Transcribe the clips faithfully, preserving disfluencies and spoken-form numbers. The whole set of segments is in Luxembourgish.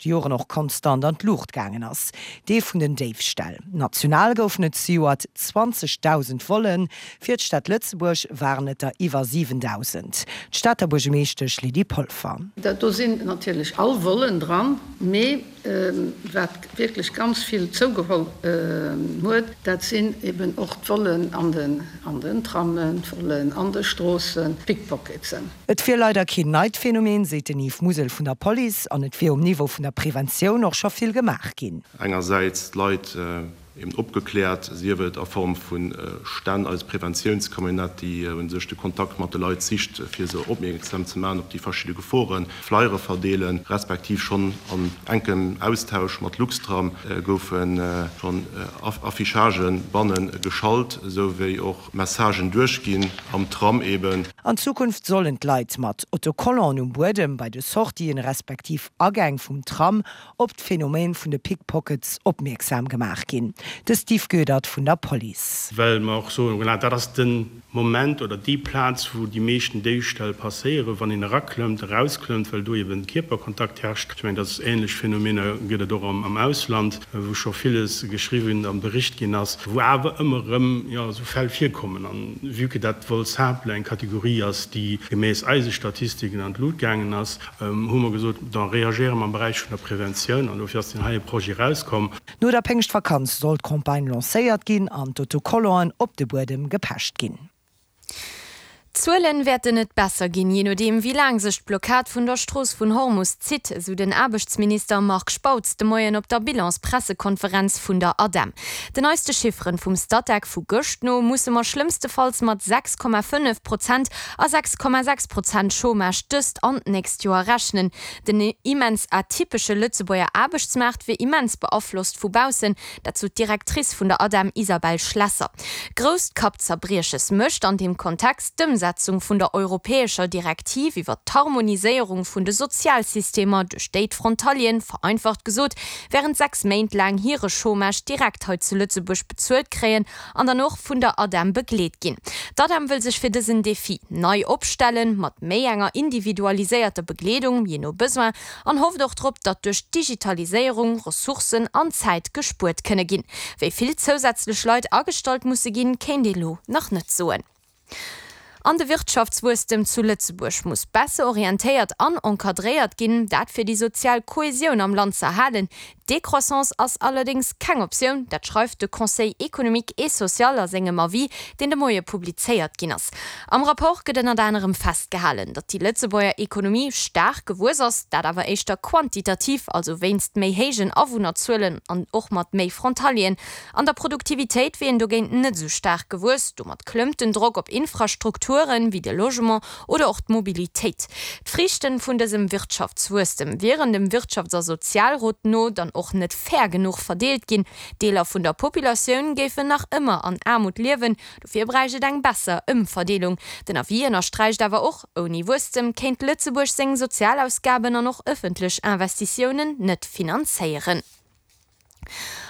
leschte Joren och konstant an d'Luucht gaangen ass, dee vun den Déifställ. National goufen et zejoert zwanzegdausend Vollen, fir d'Stad Lëtzebuerg waren et der iwwer siwendausend. D'Stater Buergermeeschtesch Lydie Polfer. Do sinn natierlech all Vollen dran, mee wat wierklech ganz vill zougeholl huet, dat sinn eben och d'Vollen an den an den Trammen, d'Vollen an de Stroossen, d'Pickpocketsen. Et wier leider keen neit Phänomen, seet den Yves Musel vun der Police, an et wier um Niveau vun der Preventioun och scho vill gemaach ginn. Engersäits d'Leit eben opgekläert, sief et a Form vu Stänn, eis Preventiounscamionnette, déi u sech de Kontakt mat de Leit sicht, fir se opmierksam ze maachen op déi verschidde Geforen, Flyere verdeelen, respektiv schonn an enkem Austausch mat Luxtram goufe schonn Affichagë banne geschalt, esou wéi och Messagen duerchginn am Tram eben. An Zukunft sollen d'Leit mat Autocollanten um Buedem bei de Sortien respektiv Agäng vum Tram op d'Phänomen vun de Pickpockets opmierksam gemaach ginn. De Steve Goedert vun der Police. Well mer och soen, voilà, dat ass de Moment oder déi Plaz, wou déi meeschten Déifställ passéieren, wann een eraklëmmt, erausklëmmt, well do eben Kierperkontakt herrscht. Ech mengen, dass ähnlech Phänomener gëtt et och am Ausland, wou scho villes geschriwwen a bericht ginn ass, wou awer ëmmer erëm, jo, esou Fäll virkommen. An vue que dat Vol simple eng Kategorie ass, déi gemäss eise Statistiken an d'Lut gaangen ass, hu mer gesot, da reagéiere mer am Beräich vun der Preventioun. An dofir ass deen heie Projet erauskomm. No der Péngschtvakanz soll d'Campagne lancéiert ginn an d'Autocollanten op de Buedem gepecht ginn. D'Zuelen wäerten net besser ginn, jee nodeem wéi laang sech d'Blockad vun der Strooss vun Hormus zitt, esou den Aarbechtsminister Marc Spautz de Moien op der Bilanspressekonferenz vun der ADEM. Den neiste Chifferen vum Statec vu gëscht no musse mer schlëmmstefalls mat sechs Komma fënnef Prozent a sechs Komma sechs Prozent Chômage dëst an d'nächst Joer rechnen. Den immens atypesche Lëtzebuerger Aarbechtsmaart wier immens beaflosst vu baussen, dat sot d'Directrice vun der ADEM Isabelle Schlesser. Grousst Kappzerbrieches mécht an deem Kontext d'Ëmsetzung vun der europäescher Direktiv iwwer d'Harmoniséierung vun de Sozialsystemer, duerch déi d'Frontalieren, vereinfacht gesot, wärend sechs Méint laang hire Chômage direkt hei zu Lëtzebuerg bezuelt kréien an dann och vun der ADEM begleet ginn. D'ADEM wëll sech fir dësen Defi nei opstellen, mat méi enger individualiséierter Begleedung, jee no Besoin, an hofft och drop, datt duerch d'Digitaliséierung Ressourcen an Zäit gespuert kënne ginn. Wéi vill zousätzlech Leit agestallt musse ginn, kéint ee lo nach net soen. An de Wirtschaftswuesstem zu Lëtzebuerg muss besser orientéiert an encadréiert ginn, dat fir déi sozial Kohäsioun am Land z'erhalen. D'Décroissance ass allerdéngs keng Optioun, dat schreift de Conseil économique et social a sengem Avis, deen de Moie publizéiert ginn ass. Am Rapport gëtt ënnert anerem festgehalen, datt déi Lëtzebuerger Ekonomie staark gewuess ass, dat awer éischter quantitativ, also wéinst méi héijen Awunnerzuelen an och mat méi Frontalieren. An der Produktivitéit wier een dogéint net esou staark gewuess. Domat klëmmt den Drock op Infrastrukturen, wéi de Logement oder och d'Mobilitéit. D'Friichten vun dësem Wirtschaftswuesstem wieren dem Wirtschafts a Sozialrot no dann och net fair genuch verdeelt ginn. Deeler vun der Populatioun géifen nach ëmmer an Aarmut liewen, dofir bräicht et eng besser Ëmverdeelung. Den Avis ënnersträicht awer och, Ouni Wuesstem kéint Lëtzebuerg seng Sozialausgaben an och ëffentlech Investitiounen net finanzéieren.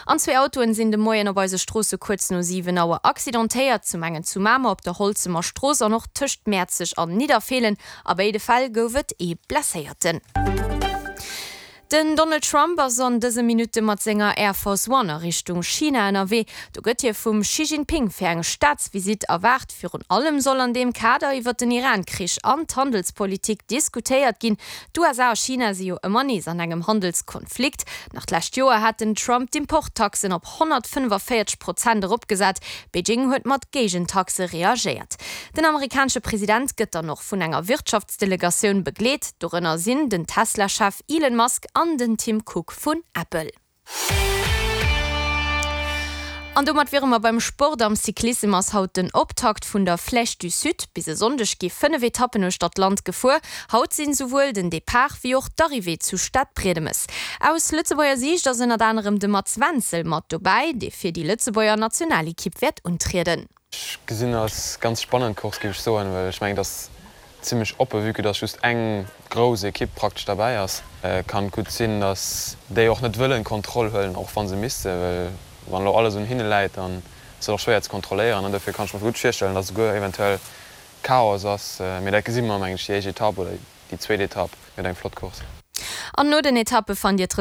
An zwee Autoen sinn de Moien op eise Stroosse kuerz no siwen Auer accidentéiert, zum engen zu Mamer op der Holzemer Strooss an och tëscht Mäerzeg an Nidderfeelen. A béide Fäll gouf et ee Blesséierten. Den Donald Trump ass an dëse Minutte mat senger Air Force One a Richtung China ënnerwee. Do gëtt hie vum Xi Jinping fir eng Staatsvisitt erwaart. Virun allem soll an deem Kader iwwer den Iran-Krich an d'Handelspolitik diskutéiert ginn. D'U S A a China si jo ëmmer nees an engem Handelskonflikt. Nach d'lescht Joer hat den Trump d'Importtaxen op honnertfënnefenvéierzeg Prozent eropgesat. Beijing huet mat Géigentaxe reagéiert. Den amerikanesche President gëtt dann och vun enger Wirtschaftsdelegatioun begleet. Dorënner sinn den Tesla-Chef Elon Musk an den Tim Cook vun Apple. An domat wiere mer beim Sport. Am Cyclissem ass haut den Optakt vun der Flèche du Sud. Bis e Sonndeg gi fënnef Etappen uechter d'Land gefuer. Haut sinn souwuel den Depart wéi och d'Arrivée zu Stadbriedemes. Aus Lëtzebuerger Siicht ass ënnert anerem de Mats Wenzel mat dobäi, dee fir déi Lëtzebuerger Nationalekipp wäert untrieden. Ech gesinn als ganz spannend Course, géif ech soen, well ech mengen, dass zimmlech oppe, vue que dass just eng grouss Ekipp praktesch derbäi ass. Kann gutt sinn, dass déi och net wëllen Kontroll huelen, och wa se missten, well wann elo alles un hinne läit, dann ass et och schwéier ze kontrolléieren. An dofir kann ech mer gutt virstellen, dass esouguer eventuell Chaos ass. Mee dat gesi mer, mengen ech, déi éischt Etapp oder déi zweet Etapp gëtt eng flott Course. An no den Etappe fannt Dir d'Resultater.